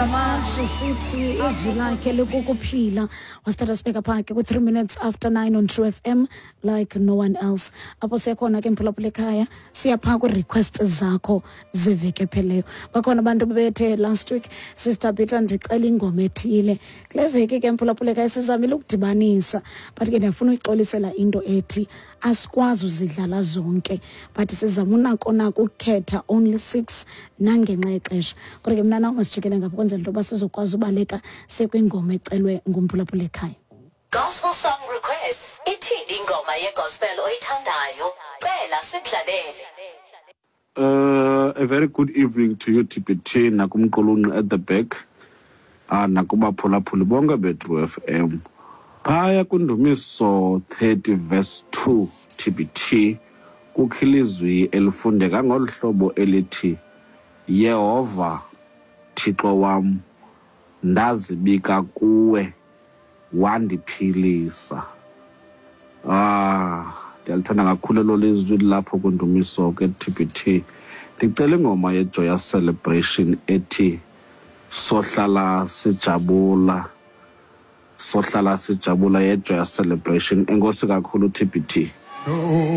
Ngamandla sithi izwi lakhe likukuphila. Wasithatha sibheka phaa ke ku-3 minutes after 9 on True FM like no one else. Apho siyakhona ke, mphulaphula ekhaya, siya phaa kwii-request zakho zeveki epheleyo. Bakhona abantu bebethe last week, "Sister Peter, ndicela ingoma ethile." Kule veki ke, mphulaphula ekhaya, sizamile ukudibanisa, but ke ndiyafuna uyixolisela into ethi asikwazi uzidlala zonke, but sizama unako nako ukukhetha only six nangenxa yexesha. Kodwa ke mna nawe masijikele ngapha kwenzela into yoba sizokwazi ubaleka sekwingoma ecelwe ngumphulaphula ekhaya. Gospel song requests. Ithini ingoma yegospel oyithandayo? Cela sikudlalele. A very good evening to you, TPT, nakumqulunqi at the back, nakubaphulaphuli bonke beTru FM. Phaya kwindumiso 30 verse 2, TPT, kukho ilizwi elifundeka ngolu hlobo elithi, "Yehova Thixo wam, ndazibika kuwe, wandiphilisa." Ah, ndiyalithanda kakhulu elo lizwi lapho kwindumiso ke, TPT. Ndicela ingoma yeJoyous Celebration ethi "Sohlala Sijabula", "Sohlala Sijabula" yeJoyous Celebration. Enkosi kakhulu, TPT.